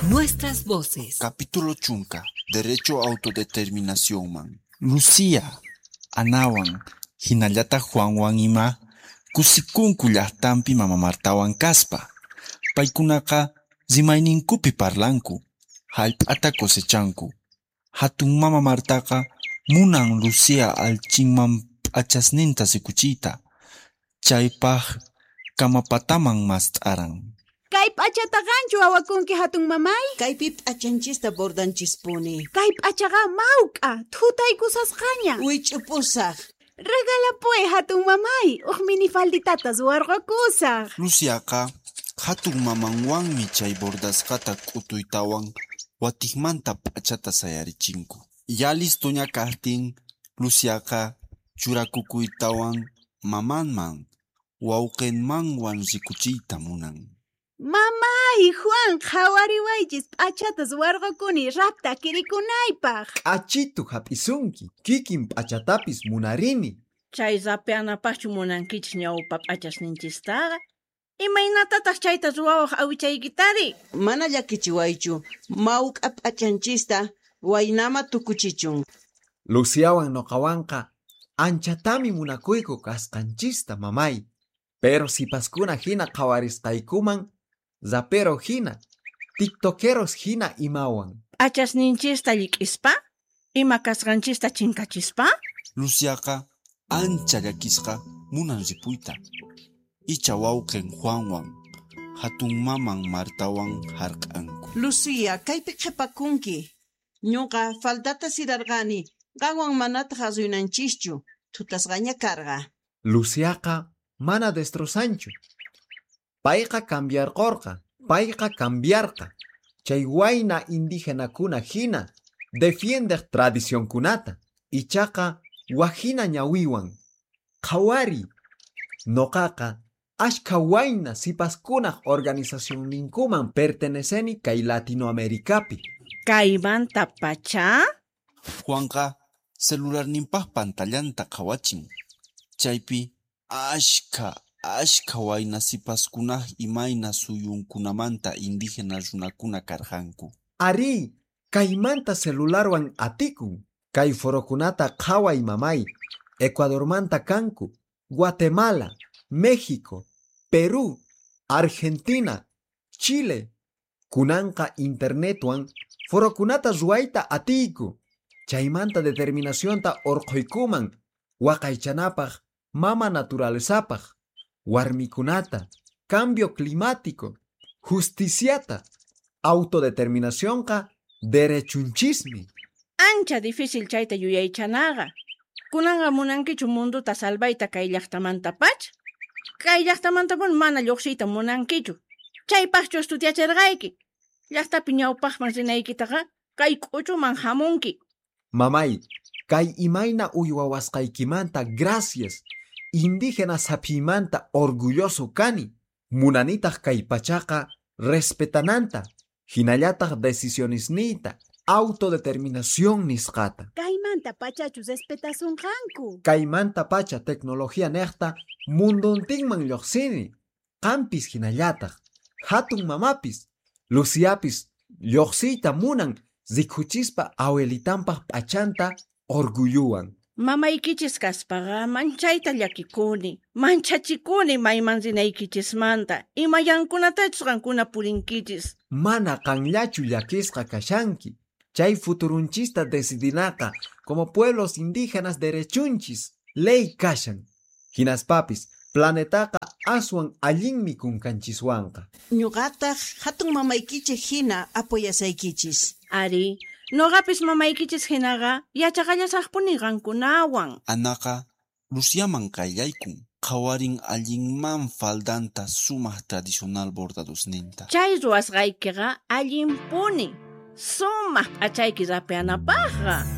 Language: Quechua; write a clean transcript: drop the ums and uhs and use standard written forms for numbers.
Nuestras voces. Capítulo chunka, Derecho a autodeterminacionman. Lucía, Anawan, hinallataq Juanwan ima kusikunku llaqtanpi mama Martawan kaspa. Paykunaqa rimayninkupi parlanku, hallp'ata cosechanku. Hatun mama Martaqa munan Lucía allchinman p'achasninta rikuchiyta. Chaypaq kamapataman mast'aran. Kay p'achata qanchu awakunki hatun mamay? Kaypi p'achanchista bordanchispuni. Kay p'achaqa mawk'a, thutaykusasqaña. Wich'upusaq. Regalapuway hatun mamay, huk minifalditata ruwarqakusaq. Luciaqa hatun mamanwanmi chay bordasqata k'utuytawan watiqmanta p'achata sayarichinku. Ya listoña kaqtin, Luciaqa churakukuytawan mamanman, wawqinmanwan rikuchiyta munan. Mamay, Juan, qhawariwaychis p'achata ruwarqakuni rapta kirikunaypaq. K'achitu hap'isunki, kikin p'achatapis munarini. Chay rapeanapaqchu munankichis ñawpa p'achasninchistaqa? Imaynatataq chayta ruwawaq awichaykitari? Mana llakichiwaychu, mawk'a p'achanchista waynama tukuchichun. Luciawan noqawanqa anchatami munakuyku kasqanchista mamay. Pero sipaskuna hina qhawarisqaykuman, rapero hina, tiktokeros hina imawan. P'achasninchista llik'ispa? Ima kasqanchista chinkachispa? Luciaqa ancha llakisqa munan ripuyta. Icha wawqin Juanwan, hatun maman Martawan hark'anku. Lucía, kaypi qhipakunki. Ñuqa faldata sirarqani, qanwan manataq asuynanchischu, thutasqaña karqa. Luciaqa mana destrozanchu. Payqa cambiarqurqa, payqa cambiarqa. Chay wayna indígenakuna hina defiendeq tradicionkunata. Ichaqa wajina ñawiwan. Qhawari, noqaqa ashka wayna sipaskunaq organizacionninkuman perteneceni kay Latinoamericapi. Kaymanta pacha? Juanqa celularninpaq pantallanta qhawachin. Chaypi ashka ashka wayna sipaskunaq imayna suyunkunamanta indígena runakuna karqanku. Ari, kaymanta celularwan atikun. Kay forokunata qhaway mamay. Ecuadormanta kanku, Guatemala, México, Perú, Argentina, Chile. Kunanqa internetwan forokunata ruwayta atiyku. Chaymanta determinacionta urqhuykuman waqaychanapaq mama naturalezapaq, warmikunata, cambio climático, justiciata, autodeterminacionqa derechunchismi. Ancha difícil chayta yuyaychanaqa. Kunanqa munankichu munduta salvayta kay llaqtamanta pacha? Kay llaqtamantapuni mana lluqsiyta munankichu. Chaypaqchu estudiachirqayki. Llaqtapi ñawpaqman rinaykitaqa kay k'uchuman hamunki. Mamay, kay imayna uywawasqaykimanta gracias. Indígena saphimanta orgulloso kani. Munanitaq kay pachaqa respetananta. Hinallataq decisionesniyta, autodeterminación nisqata. Kaymanta pachachu respetasunqanku. Kaymanta pacha tecnología niqta munduntinman lluqsini. Qampis hinallataq, hatun mamapis, Luciapis lluqsiyta munan rikuchispa awelitanpaq p'achanta orgulluwan. Mamaykichis kaspaqa manchayta llakikuni, manchachikuni mayman rinaykichismanta, imayankunatachus qankuna purinkichis. Mana qanllachu llakisqa kashanki. Chay futurunchista decidinaqa como pueblos indígenas derechunchis, ley kashan. Hinaspapis, planetaqa aswan allinmi kunkanchiswanqa. Ñuqataq hatun mamaykichik hina apoyasaykichis. Ari, noqapis mamaykichis hinaqa yachaqallasaqpuni qankunawan. Anaqa Luciaman qayllaykun, qhawarin allinman faldanta sumaq tradicional bordadosninta. Chay ruwasqaykiqa allinpuni, sumaq p'achayki rapeanapaqqa.